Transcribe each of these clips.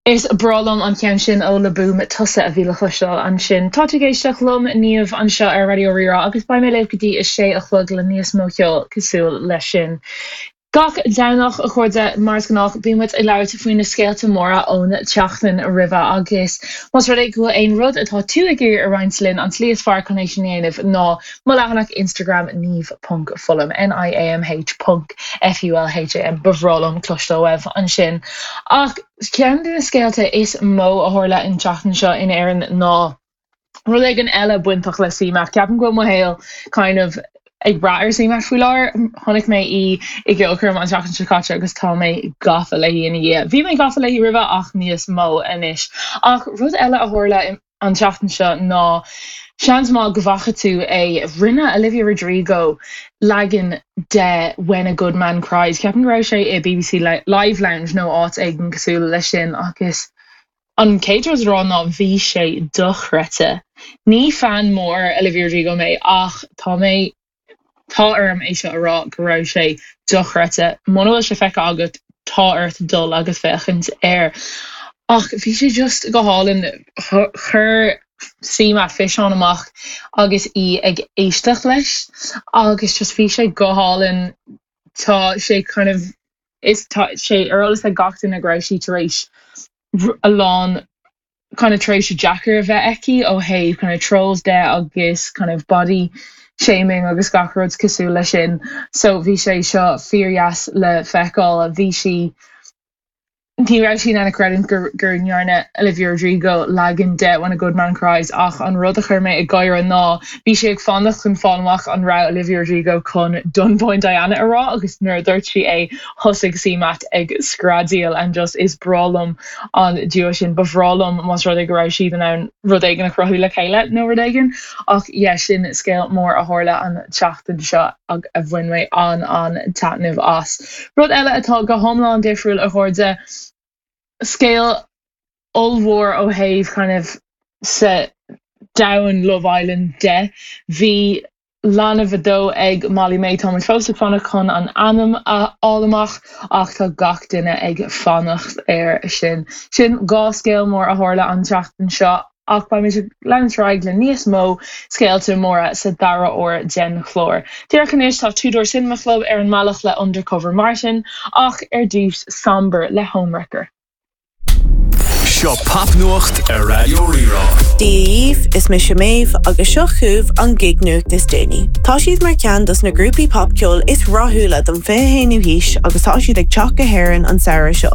Is breá liom an ceann sin ó Le Boom, Tusa a bhí le cloisteáil ansin. Tá tú ag éisteacht liom, Niamh, anseo ar Raidió Rí-Rá agus beidh mé libh go dtí a sé a chlog le níos mó ceoil cosúil leis sin. Gach Domhnach, a chairde, mar is gnách, bíonn muid ag labhairt faoi na scéalta móra ón tseachtain roimhe agus más rud é go bhfuil aon rud atá tú ag iarraidh a roinnt linn, an tslí is fearr chun é sin a dhéanamh ná mo leathanach Instagram niamh ponc fulham, N-I-A-M-H ponc F-U-L-H-A-M. Ba bhreá liom cloisteáil uaibh ansin. Ach ceann de na scéalta is mó a tharla an tseachtain seo in Éirinn ná rud éigin eile bainteach le CMAT. Ceapaim go bhfuil mo shaol kind of ag brath ar CMAT faoi láthair. Chonaic mé í i gceolchoirm an tseachtain seo caite agus tá mé gafa léi ina dhiaidh. Bhí mé gafa léi roimhe ach níos mó anois. Ach rud eile a tharla an tseachtain seo ná seans maith go bhfaca tú é, rinne Olivia Rodrigo leagan de When a Good Man Cries. Ceapaim go raibh sé i bbc Live Lounge nó áit éigin cosúil leis sin agus an chéad rud a rá ná bhí sé dochreidte. Ní fan mór Olivia Rodrigo mé ach tá mé Tá orm é seo a rá go raibh sé dochreidte. Muna bhfuil sé feicthe agat, tá ort dul agus féachaint air. Ach bhí sé just go hálainn. Chuir CMAT físeán amach agus í ag éisteacht leis agus just bhí sé go hálainn. Tá sé kind of, is tá sé ar eolas ag gach duine go raibh sí tar éis a lán kind of tréimhse deacair a bheith aici ó thaobh kind of trolls de agus kind of body shaming agus gach rud cosúil leis sin. So bhí sé seo fíordheas le feiceáil. Bhí sí ní raibh sí in ann a chreidiúint gur gur ndearna Olivia Rodrigo leagan de When a Good Man Cries ach an rud a chuir mé ag gáire ná bhí sí ag fanacht chun fáil amach an raibh Olivia Rodrigo chun Dunboyne Diana a rá agus nuair a dúirt sí é thosaigh CMAT ag screadaíl and just is breá liom an duo sin. Ba bhreá liom más rud é go raibh siad in ann rud éigin a chruthú le chéile nó rud éigin. Ach yeah, sin scéal mór a tharla an tseachtain seo a bhain mé an-an-taitneamh as. Rud eile atá go hiomlán difriúil, a chairde, scéal ollmhór ó thaobh kind of sa domhan Love Island de. Bhí leanbh a dó ag Molly-Mae. Tá muid fós ag fanacht chun an ainm a fháil amach ach tá gach duine ag fanacht air sin. Sin 2 scéal mór a tharla an tseachtain seo ach beidh muid ag leanúint ar aghaidh le níos mó scéalta móra sa dara huair den chlár. Díreach anois tá Two Door Cinema Club ar an mbealach le Undercover Martin ach ar dtús Somber le Homewrecker. Seo Popnuacht ar Raidió Rí-Rá. Dia dhaoibh, is mise Méabh agus seo chugaibh an gig-nuacht is déanaí. Tá siad mar cheann dos na grúpaí popcheoil is rathúla don 21ú haois agus tá siad ag teacht go hÉirinn an samhradh seo.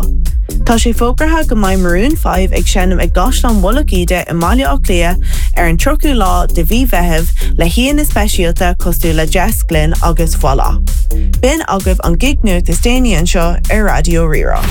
Tá sé fógartha go mbeidh Maroon 5 ag seinm i gCaisleán Mhullach Íde i mBaile Átha Cliath ar an 30ú lá de mhí Mheithimh le haíonna speisialta cosúil le Jess Glynne agus Voila. B'in agaibh an gig-nuacht is déanaí anseo ar Raidió Rí-Rá.